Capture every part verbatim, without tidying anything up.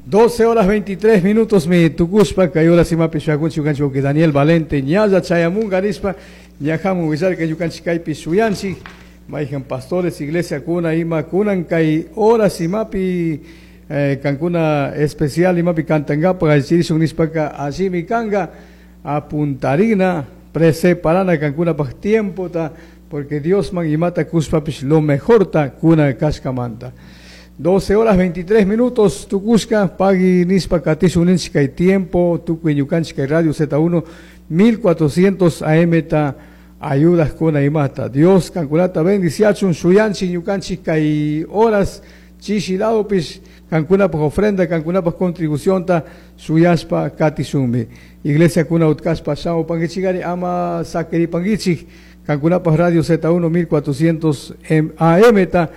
doce horas veintitrés minutos mi tukushpa kay horas imapi shuyakunchik ñukanchik wawki Daniel Valente ñalla chayamunga nishpa ñajamun willarka ñukanchik kaypi shuyanchik mayjan pastores iglesia kuna ima kunan kay horas imapi eh, kankuna especial imapi kantankapaq allichirishun nishpaka allimi kanka apuntarina preparana kankunapaq tiempota porque Diosman imata kushpapish lo mejorta kuna kashkamanta. doce horas veintitrés minutos, tukushka, pagui nispa katishun ninchik kay tiempo, tukuy ñukanchik kay Radio Z uno, mil cuatrocientos A M ta ayudas kuna imata. Dios kankunata bendiciachun, shuyanchik ñukanchik kay horas chishi ladopis, kankunapaj ofrenda, kankunapaj contribución ta shuyashpa katishunmi. Iglesia kuna utkashpa shamupankichikari ama sakiripankichik, kankunapaj Radio Z uno mil cuatrocientos A M ta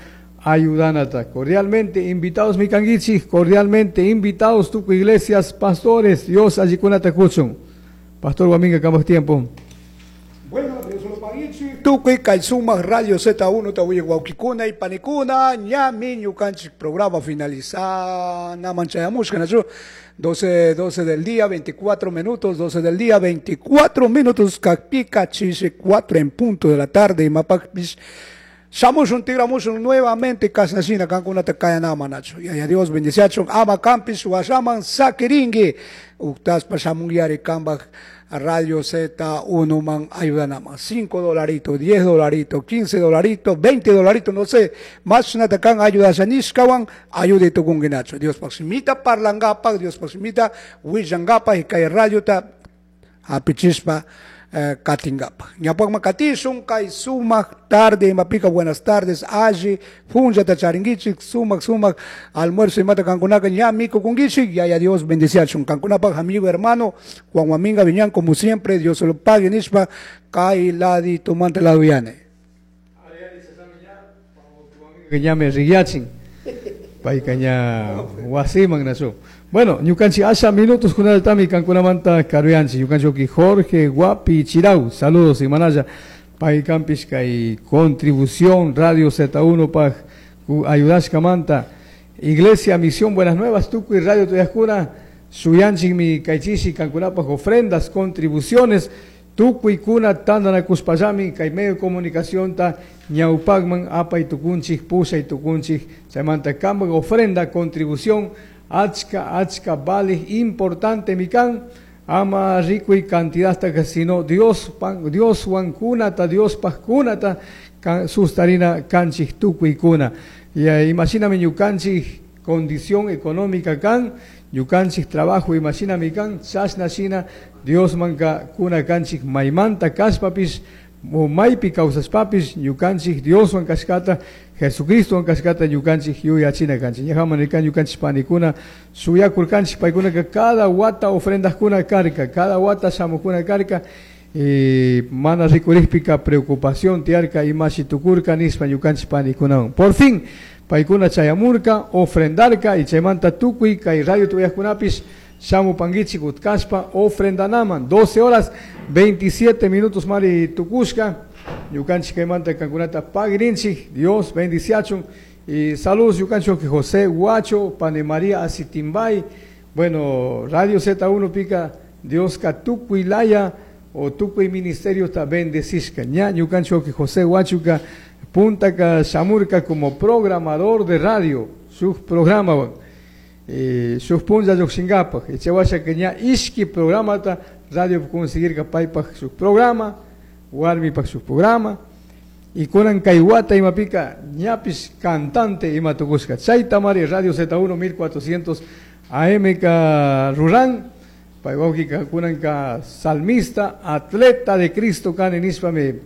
ayudanata. Cordialmente invitados mi kanguichik, cordialmente invitados tuku iglesias, pastores, Dios allikunata kuchun. Pastor Guaminga, cambas tiempo. Bueno, Dios lo paguichi. Tukuy kay sumak Radio Z uno tawiye wawkikuna y panikuna, ñami ñukanchik programa finaliza namanchayamushka nachu. doce, doce del día, veinticuatro minutos, doce del día, veinticuatro minutos, kakpika chiche, cuatro en punto de la tarde, y mapakpis. Shamushun tigramushun nuevamente kasnashina kankunata kayanama nachu. Y a Dios bendiciachun ama campis washaman sakiringi. Uktaspa shamunyari kambaj Radio Z uno man ayudanama. Cinco dolaritos, diez dolaritos, quince dolaritos, veinte dolaritos, no sé. Más natakan ayudashanishkawan ayude tukungi nacho. Dios paximita parlangapa, Dios paximita willangapa y kay radio ta apichispa. Eh, katingapa. Ñapakma katishun kay sumak tarde imapika buenas tardes alli funja tacharingichik sumak sumak almuerzo imata kankunaka ña miku kungichik ya ya Dios bendiciachun kankunapaj amigo hermano Juan Guaminga Viñán como siempre Dios se lo pague nishpa kay ladi tumante lado yane. Ña me rigiachin. Payka ña wasiman nasu. Bueno, ñukanchik asha minutos kunaltami kankunamanta karuyanchik. Ñukanchik Jorge Guapi Chirau, saludos y manaya. Paykampis kay contribución Radio Z uno paj ayudashkamanta. Iglesia Misión Buenas Nuevas, Tukuy Radio Tuyascura, Suyanchik mi kaychishi kankunapaj ofrendas, contribuciones. Tukuy kuna tandanakuspallami kay medio de comunicación ta ñawpakman apay tukunchik, pushay tukunchik, chaymanta kambaj ofrenda, contribución, achka, achka, vale, importante mikan, ama rico y cantidad hasta que sino Dios, pan, Dios huancunata, Dios pascunata, can, sustarina kanchik tukuy kuna. Y ahí, imagíname ñukanchik condición económica kan, ñukanchik trabajo, imagíname kan, chashna shina, Dios manka kuna kanchik maymanta kashpapis, o maypi kawsashpapis, ñukanchik Dios wan kashkata, Jesucristo wan kashkata, ñukanchik yuyachina kanchik. Ñajaman nikan ñukanchik panikuna, suyakurkanchik paykunaka cada wata ofrendaskuna karka, cada wata shamukuna karka, y mana rikurikpika preocupación tiarka imashi tukurka nispa ñukanchik panikunawan. Por fin, paykuna chayamurka, ofrendarka, y chaymanta tukuy kay radio tuyaskunapis, shamu panguichik utkashpa ofrendanaman. doce horas veintisiete minutos mari tukushka. Ñukanchik kaymanta kankunata pagrinchik. Dios bendiciachun. Y saludos ñukanchik José Guacho, Pane María Asitimbay. Bueno, Radio Z uno pica Dios ka tukuy laya o tukuy ministerio ta bendecishka. Ña ñukanchik José Guachuka punta ka shamurka como programador de radio, sus programa. Eh, sus punza yoxingapaj, y chewasha que ña ishki programa ta radio conseguir kapaypaj su programa, warmipaj su programa, y kunan kayhuata imapika ñapis cantante imatukushka. Chaytamari Radio Z uno mil cuatrocientos A M ka ruran, paywawki ka kunan ka salmista, atleta de Cristo kan nispame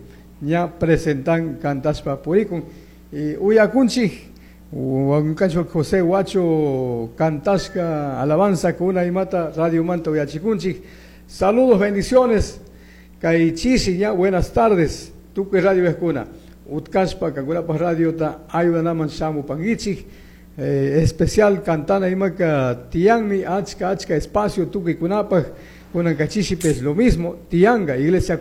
ña presentan cantaspa purikun. Y uyakunchik, Huancacho José Guacho cantashka alabanza con una imata Radio Manta uyachikunchik. Saludos, bendiciones. Kaichisi ya, buenas tardes. Tukuy Radio Escuna. Utkashpa, Kankunapaj Radio ta ayudanaman shamu pangichik. Eh, especial cantana imaka tianmi achka achka espacio tukuy kunapaj. Kunan kachisi pes lo mismo. Tianga, iglesia